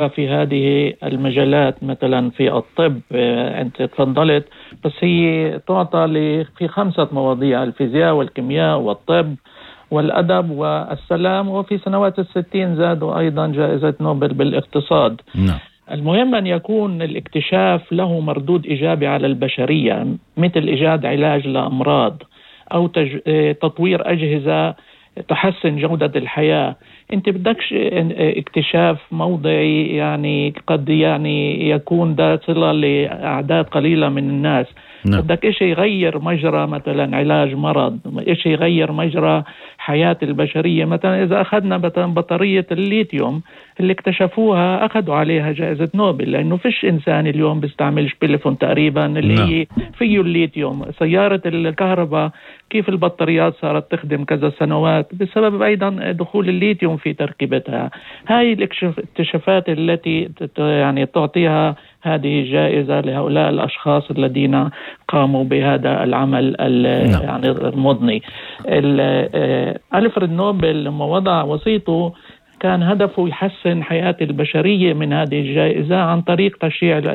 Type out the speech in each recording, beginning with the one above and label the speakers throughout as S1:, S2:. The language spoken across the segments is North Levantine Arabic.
S1: في هذه المجالات مثلا في الطب. أنت تفضلت، بس هي تعطى في 5 مواضيع: الفيزياء والكيمياء والطب والأدب والسلام، وفي سنوات 60 زادوا أيضا جائزة نوبل بالاقتصاد.
S2: نعم.
S1: المهم أن يكون الاكتشاف له مردود إيجابي على البشرية، مثل إيجاد علاج لأمراض أو تطوير أجهزة تحسن جودة الحياة. انت بدكش اكتشاف موضعي يعني قد يعني يكون ده صلة لأعداد قليلة من الناس.
S2: نعم.
S1: بدك اشي يغير مجرى مثلا علاج مرض، اشي يغير مجرى حياة البشرية. مثلا اذا اخذنا مثلا بطارية الليثيوم اللي اكتشفوها اخذوا عليها جائزة نوبل، لانه فيش انسان اليوم بيستعملش تليفون تقريبا اللي هي فيه الليثيوم. سيارة الكهرباء كيف البطاريات صارت تخدم كذا سنوات بسبب أيضا دخول الليثيوم في تركيبتها. هاي الاكتشافات التي يعني تعطيها هذه الجائزة لهؤلاء الأشخاص الذين قاموا بهذا العمل يعني المضني. ألفريد نوبل لما وضع وصيته كان هدفه يحسن حياة البشرية من هذه الجائزة عن طريق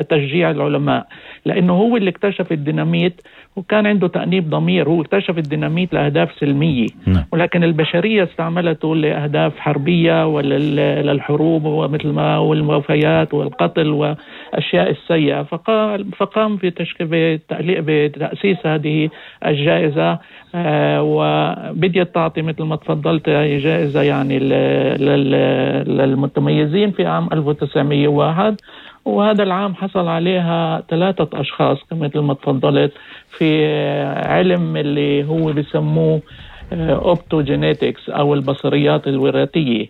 S1: تشجيع العلماء، لأنه هو اللي اكتشف الديناميت وكان عنده تأنيب ضمير. هو اكتشف الديناميت لأهداف سلمية، ولكن البشرية استعملته لأهداف حربية وللحروب ومثل ما والوفيات والقتل وأشياء السيئة. فقام بتأسيس هذه الجائزة، وبديت تعطي مثل ما تفضلت جائزة يعني للمتميزين في عام 1901، وهذا العام حصل عليها 3 أشخاص مثل ما تفضلت في علم اللي هو بيسموه أوبتوجينيتكس أو البصريات الوراثية.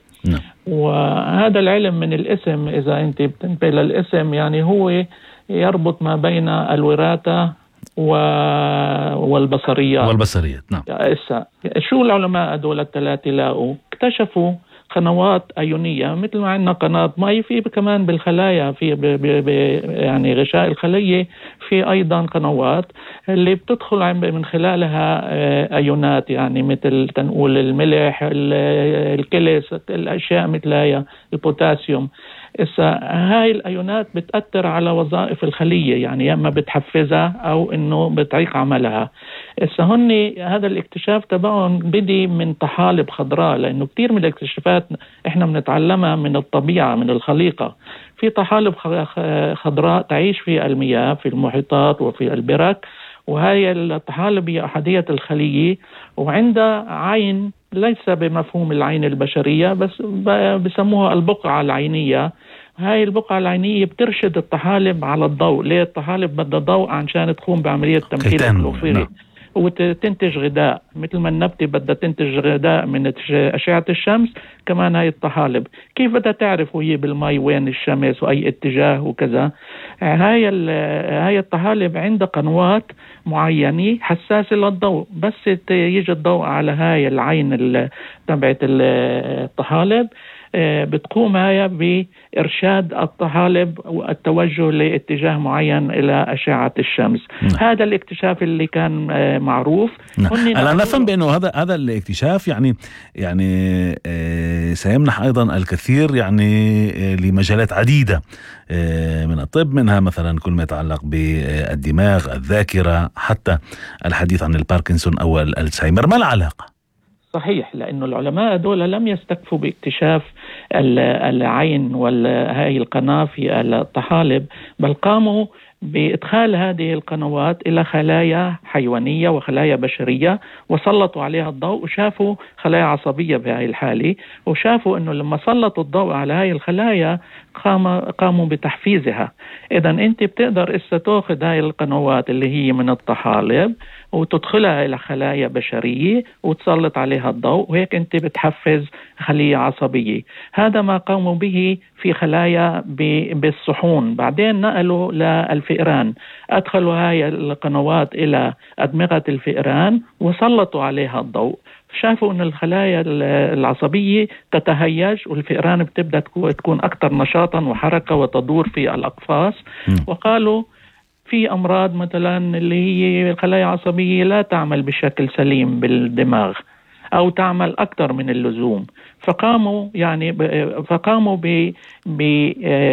S1: وهذا العلم من الاسم، إذا أنت بتنتبه للاسم، يعني هو يربط ما بين الوراثة والبصريات.
S2: نعم.
S1: شو العلماء دول الثلاثة لاقوا؟ اكتشفوا قنوات أيونية مثل ما عندنا قناة مي، في كمان بالخلايا في يعني غشاء الخلية في أيضا قنوات اللي بتدخل من خلالها أيونات، يعني مثل تنقول الملح، الكلس، الأشياء مثل هي البوتاسيوم. هاي الأيونات بتأثر على وظائف الخلية، يعني اما بتحفزها أو إنه بتعيق عملها. هذا الاكتشاف تبعهم بدي من طحالب خضراء، لأنه كتير من الاكتشافات إحنا بنتعلمها من الطبيعة من الخليقة. في طحالب خضراء تعيش في المياه في المحيطات وفي البرك، وهي الطحالب هي أحادية الخلية، وعندها عين ليس بمفهوم العين البشرية، بس بسموها البقعة العينية. هاي البقعة العينية بترشد الطحالب على الضوء. ليه الطحالب بدها ضوء عشان تقوم بعملية تمثيل الكلوروفيل وتنتج غذاء، مثل ما النبتة بدها تنتج غذاء من أشعة الشمس، كمان هاي الطحالب كيف بدها تعرف وهي بالماء وين الشمس وأي اتجاه وكذا. هاي الطحالب عندها قنوات معينة حساسة للضوء، بس يجي الضوء على هاي العين تبعت الطحالب بتقوم هاي بإرشاد الطحالب والتوجه لاتجاه معين إلى أشعة الشمس. هذا الاكتشاف اللي كان معروف.
S2: أنا نفهم بأنه هذا الاكتشاف يعني سيمنح أيضا الكثير يعني لمجالات عديدة من الطب، منها مثلا كل ما يتعلق بالدماغ، الذاكرة، حتى الحديث عن الباركنسون أو الألزهايمر. ما العلاقة؟
S1: صحيح، لأنه العلماء دول لم يستكفوا باكتشاف العين وهي القناة في الطحالب، بل قاموا بإدخال هذه القنوات إلى خلايا حيوانية وخلايا بشرية، وسلطوا عليها الضوء وشافوا خلايا عصبية بهذه الحالة، وشافوا أنه لما سلطوا الضوء على هذه الخلايا قاموا بتحفيزها. إذن أنت بتقدر تأخذ هذه القنوات اللي هي من الطحالب وتدخلها إلى خلايا بشرية وتسلط عليها الضوء، وهيك أنت بتحفز خلية عصبية. هذا ما قاموا به في خلايا بالصحون. بعدين نقلوا للفئران، أدخلوا هاي القنوات إلى أدمغة الفئران وسلطوا عليها الضوء، شافوا أن الخلايا العصبية تتهيج والفئران بتبدأ تكون أكثر نشاطا وحركة وتدور في الأقفاص. وقالوا في أمراض مثلا اللي هي الخلايا العصبية لا تعمل بشكل سليم بالدماغ، أو تعمل أكثر من اللزوم. فقاموا